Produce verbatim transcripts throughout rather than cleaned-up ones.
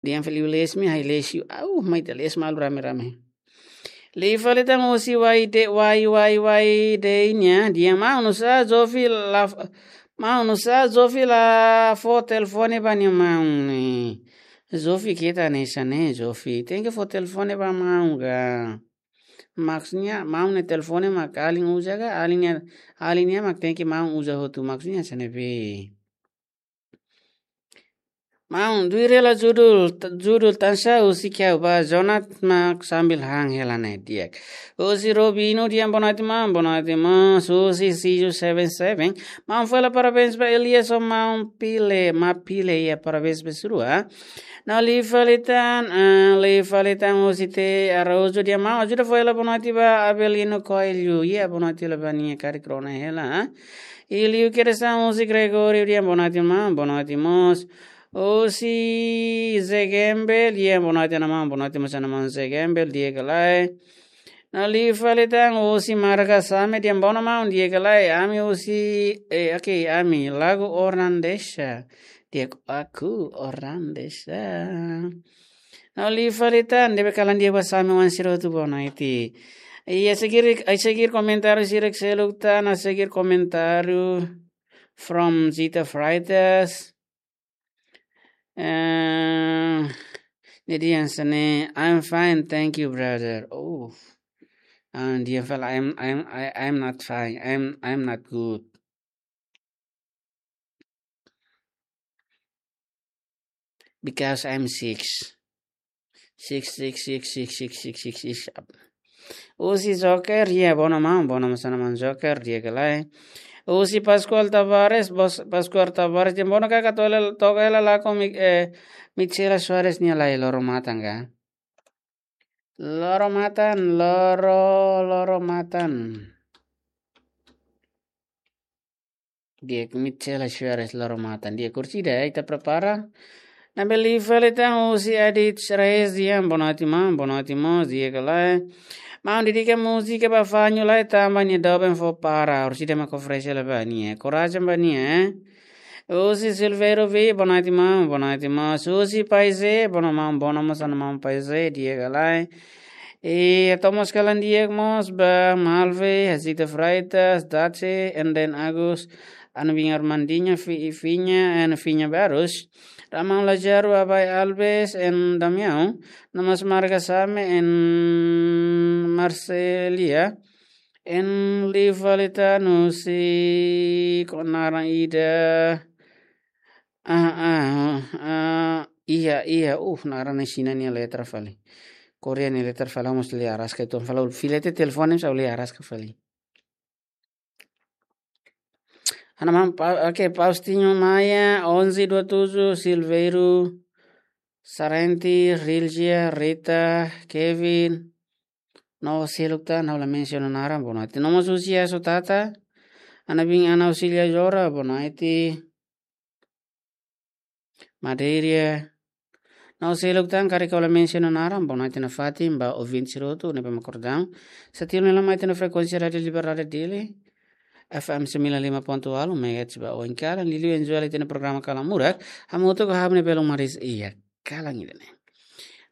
Dian fali les mi, hai les yu. Au, mai ta les malu rame-rame. Liu fali tan husi wai de, wai, wai, wai de nia. Dian maun nusá Jovi la, maun nusá Jovi la fó telefone ba nia maun ne'e. Jovi keta hanesan ne'e, Jovi. Tenke fó telefone ba maun ka. Maksudnya, maun nia telefone mak alin uza ka, alin nia, alin nia mak tenke maun uza hotu. Maksudnya, hanesan ne'ebé. Maun, duir hela judul, t-, judul tansá husi kiau ba, Jonat mak sambil han hela ne'e di'ak. Husi Robino di'ak, boa noite maun, boa noite maun, husi C U seven seven. Maun fó hela parabéns ba Elias ho maun Pile, ma Pile iha parabéns ba sira. No liu fali tan, ah, liu fali tan husi T Araújo di'ak, maun ajuda fó hela boa noite ba Abelino Coelho, iha boa noite hela ba nia karik rona hela, ah. I liu kedas tan husi Gregorio di'ak, boa noite maun, boa noite mós. Husi Zegembel di'ak, boa noite ona maun, boa noite mós ona maun Zegembel di'ak ka lae. No liu fali tan husi Marga Same di'ak, boa noite maun di'ak ka lae. Ami husi, eh, oke, ami lagu Ornandesa. Di'ak, aku Ornandesa. No liu fali tan, ne'ebé kalan di'ak ba Same wan sira hotu boa noite. I a seguir, a seguir komentáriu sira seluk tan, a seguir komentáriu from Zita Freitas. Eh, nia dehan hanesan ne'e, "I'm fine, thank you, brother." Oh, and dia fala, "I'm, I'm, I, I'm not fine. I'm, I'm not good." Because I'm six. Six, six, six, six, six, six, six, six. Husi Joker, ya, boa noite maun, boa noite mós ona maun Joker, di'ak ka lae. Husi Pascual Tavares, bos, Pascual Tavares, di'ak boa noite kaka tole, toka hela lagu Mi-, eh, Michela Soares nia lai, Loro Matan ka. Loro Matan, Loro, Loro Matan. Di'ak, Michela Soares, Loro Matan. Di'ak, orsida, eh, ita prepara. Ne'ebé liu fali tan husi Adit Reyes di'ak, boa noite maun, boa noite mós, di'ak ka lae. Maun dedika múzika ba Fanho lai tanba nia doben fó para, orsida mak oferese hela ba nia. Korajen ba nia, eh. Husi Silveiro V, boa noite maun, boa noite mós. Husi Paize, boa noite maun, boa noite mós ona maun Paize, di'ak ka lae. I ita mós kalan di'ak mós ba Malve, Jacinta Freitas, Dace, and then Agus, Ana Vinha Armandinha, Fi-, Finha, and Finha Barros. Ramon Lázaro, Abai Alves, and Damião. No mós Marga Same, and Marcelia. And liu fali tan husi, kok naran ida. Ah, ah, ah, iha, iha, uh, naran ne'e Xina nia letra fali. Korea nia letra fali, mós lee araska uitoan fali, fila tiha telefone, mós lee araska fali. Ana maun, Pa-, oke, Faustino Maia, onze dua tujuh, Silveiro, Sarenti, Rilgia, Rita, Kevin, no seluk tan, ha'u la mensiona naran, boa noite. No mós husi Asu Tata, Ana Bin, Ana Auxilia Jora, boa noite. Madeiria. No seluk tan, karik ha'u la mensiona naran, boa noite nafatin ba ouvinte sira hotu ne'ebé mak akordaun. Setia ona mai iha ne'e frekuénsia Rádio Liberdade Dili, F M sembilan lima ponto walu megahertz ba oin kalan, liuliu enjoy iha ne'e programa Kalan Murak, hamutuk ho ha'u-nia belun Maris iha kalan ida-ne'e.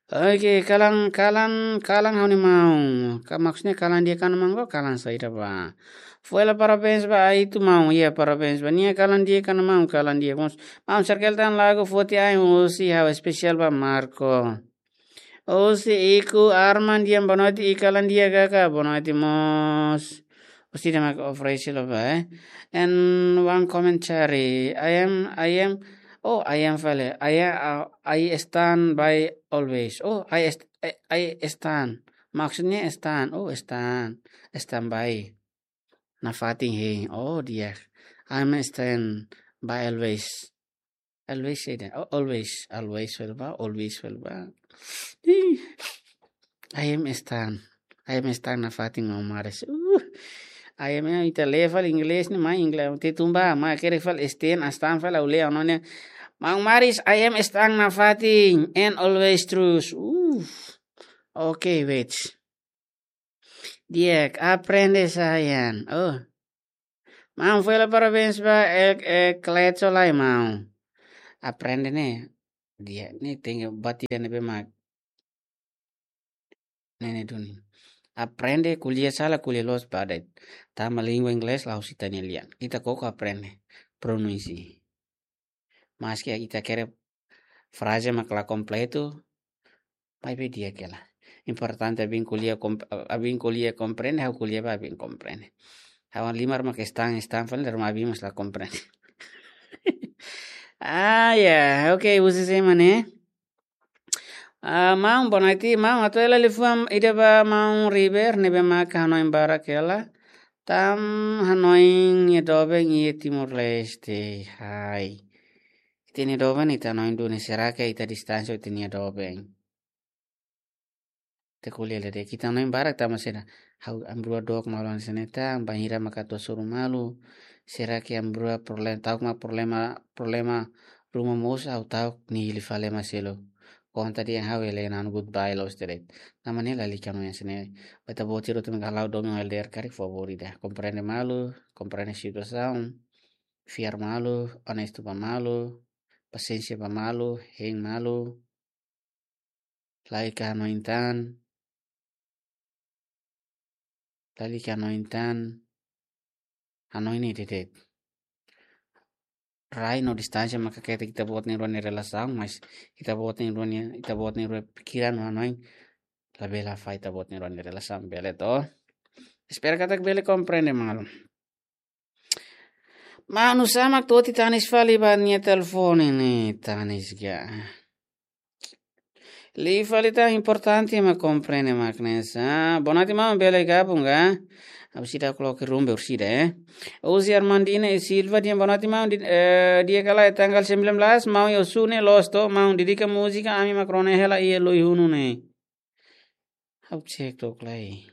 Oke, kalan, kalan, kalan ha'u-nia maun. Ka, maksudnya kalan di'ak ka maun ka kalan saida ba. Fó hela parabéns ba Aitu maun, ya parabéns ba nia, kalan di'ak ka maun, kalan di'ak mós. Maun, serkel tan lagu foti ai husi ha'u, espesiál ba Marco. Husi Iku Arman di'ak, boa noite, i kalan di'ak kaka, boa noite mós. Husi ida mak oferese hela ba, eh. And one commentary. I am, I am, oh, I am fali. I am, uh, I stand by always. Oh, I est-, I, I stand. Maksudnya stand. Oh, stand. Stand by. Nafatin hein. Oh, di'ak. I am stand by always. Always saida. Oh, always. Always fali ba, always fali ba. Ih. I am stand. I am stand nafatin maun Maris. Uh. I am, eh, ita lee fali inglés ne'e, mai inglés. Te tumba, mai kere fali stand, stand fali ha'u lee ona ne'e. Maun Maris, I am stand nafatin and always true. Uh. Oke, wait. Di'ak, aprende sayang. Oh. Maun, fó hela parabéns ba, eh, eh, Kleco lai, maun. Aprende ne'e. Di'ak, ne'e tenke bati dan ne'ebé mak ne'e duni. Aprende ko'alia sala, ko'alia loos ba de'it. Tanba língua inglés la'ós ita-nia lian. Ita koko aprende pronunsia. Maske ita hakerek fraze mak la kompletu, maibé di'ak hela. Importante ami ko'alia komp-, ami ko'alia komprende, ha'u ko'alia ba ami komprende. Ha'u halimar mak stan, stan fali, rumah ami mas la komprende. Ah, ya, oke, husi sé mak ne'e? Ah, maun, boa noite, maun. Atu hela liafuan ida ba maun River, ne'ebé mak hanoin barak hela. Tan hanoin iha doben iha Timor-Leste. Hai. Ita-nia doben ita hanoin duni, será que ita distánsia ita-nia doben? Ita ko'alia de'it, ita hanoin barak tanba sira. Ha'u, ami rua dook malu hanesan ne'e tan, bainhira mak atu hasoru malu. Será que ami rua problema, ta'uk mak problema, problema ruma moos, ha'u ta'uk nia hili fali ema seluk. Konta dehan ha'u, hela hanoin goodbye loos de'it. Tanba ne'e lalika hanoin hanesan ne'e. Ba ita-boot sira hotu mak hala'o domin L D R karik, favór ida. Komprende malu, komprende situasaun, fiar malu, onestu ba malu, pasiénsia ba malu, hein malu. Lalika hanoin tan. Lalika hanoin tan. Hanoin ne'e de'it. Rai no distánsia maka ketak ita-boot na'in-rua nia relasaun, mas ita-boot na'in-rua nia, ita-boot na'in-rua pikiran no hanoin labele hafahe ita-boot na'in-rua nia relasaun, bele to? Espera katak bele komprende malu. Maun, nusá mak toti tanis fali ba nia telefone ne'e, tanis ga. Liu fali tan, importante mak komprende mak hanesan. Boa noite maun, bele gabung ka? Ha'u seidauk loke rumbe orsida, eh. Uzi Armandina e Silva dehan boa noite maun, di-, eh, di'ak ka lae tanggal sembilan belas maun iha Osu ne'e loos to maun, dedika múzika Ami Mak Rona Hela iha Lui Hunu ne'e. Ha'u cek tok lai.